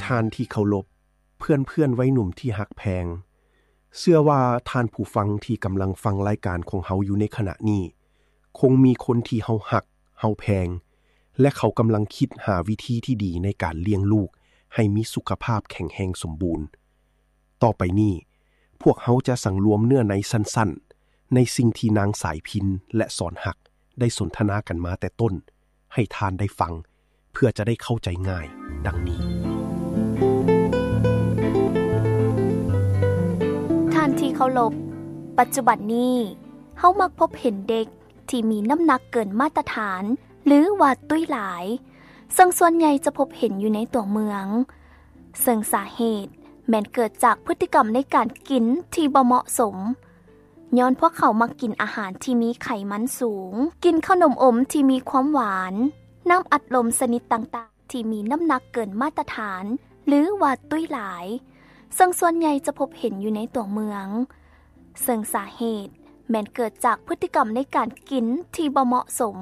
ທ່ານທີ່ເຄົາລົບ, ເພື່ອນໆ ໄວໜຸ່ມທີ່ຮັກແພງ, ເຊື່ອວ່າທ່ານຜູ້ຟັງທີ່ກຳລັງຟັງລາຍການຂອງເຮົາຢູ່ໃນຂະນະນີ້ ຄົງມີຄົນທີ່ເຮົາຮັກ, ເຮົາແພງ ແລະ ເຂົາກຳລັງຄິດຫາວິທີທີ່ດີໃນການລ້ຽງລູກໃຫ້ມີສຸຂະພາບແຂງແຮງສົມບູນ. ຕໍ່ໄປນີ້, ພວກເຮົາຈະສັງລວມເນື້ອໃນສັ້ນໆ ໃນສິ່ງທີ່ນາງສາຍພິນ ແລະ ສອນຮັກ ໄດ້ສົນທະນາກັນມາແຕ່ຕົ້ນ ໃຫ້ທ່ານໄດ້ຟັງ ເພື່ອຈະໄດ້ເຂົ້າໃຈງ່າຍ ດັ່ງນີ້. ທ່ານທີ່ເຄົາລົບ, ປັດຈຸບັນນີ້ ເຮົາມັກພົບເຫັນເດັກທີ່ມີນ້ຳໜັກເກີນມາດຕະຖານ ຫຼືວ່າຕຸ້ຍຫຼາຍ, ເຊິ່ງສ່ວນໃຫຍ່ຈະພົບເຫັນຢູ່ໃນຕົວເມືອງ, ເຊິ່ງສາເຫດແມ່ນເກີດຈາກພຶດຕິກຳໃນການກິນທີ່ບໍ່ເໝາະສົມ, ຍ້ອນພວກເຂົາມັກກິນອາຫານທີ່ມີໄຂມັນສູງ, ກິນເຂົ້າໜົມອົມທີ່ມີຄວາມຫວານ, ນ້ຳອັດລົມຊະນິດຕ່າງໆ ທີ່ມີນ້ຳໜັກເກີນມາດຕະຖານ ຫຼືວ່າຕຸ້ຍຫຼາຍ, ເຊິ່ງສ່ວນໃຫຍ່ຈະພົບເຫັນຢູ່ໃນຕົວເມືອງ, ເຊິ່ງສາເຫດແມ່ນເກີດຈາກພຶດຕິກຳໃນການກິນທີ່ບໍ່ເໝາະສົມ,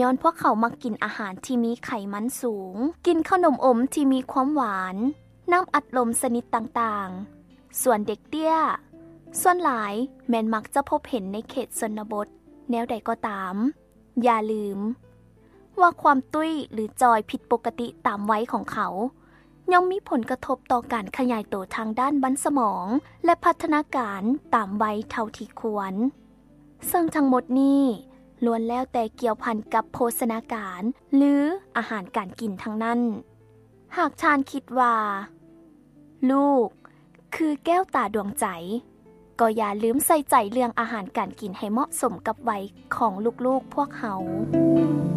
ຍ້ອນພວກເຂົາມັກກິນອາຫານທີ່ມີໄຂມັນສູງ, ກິນເຂົ້າໜົມອົມທີ່ມີຄວາມຫວານ, ນ້ຳອັດລົມຊະນິດຕ່າງໆ. ສ່ວນເດັກເຕ້ຍ, ສ່ວນຫຼາຍແມ່ນມັກຈະພົບເຫັນໃນເຂດຊົນນະບົດ. ແນວໃດກໍຕາມ, ຢ່າລືມວ່າຄວາມຕຸ້ຍ ຫຼື ຈ່ອຍຜິດປົກກະຕິຕາມໄວຂອງເຂົາ ຍ່ອມມີຜົນກະທົບຕໍ່ການຂະຫຍາຍໂຕທາງດ້ານມັນສະໝອງ ແລະ ພັດທະນາການຕາມໄວເທົ່າທີ່ຄວນ. ເຊິ່ງທັງໝົດນີ້ລ້ວນແລ້ວແຕ່ກ່ຽວພັນກັບໂພຊະນາການ ຫຼື ອາຫານການກິນທັງນັ້ນ. ຫາກທ່ານຄິດວ່າລູກຄືແກ້ວຕາດວງໃຈ, ກໍຢ່າລືມໃສ່ໃຈເລື່ອງອາຫານການກິນໃຫ້ເໝາະສົມກັບໄວຂອງລູກໆພວກເຮົາ.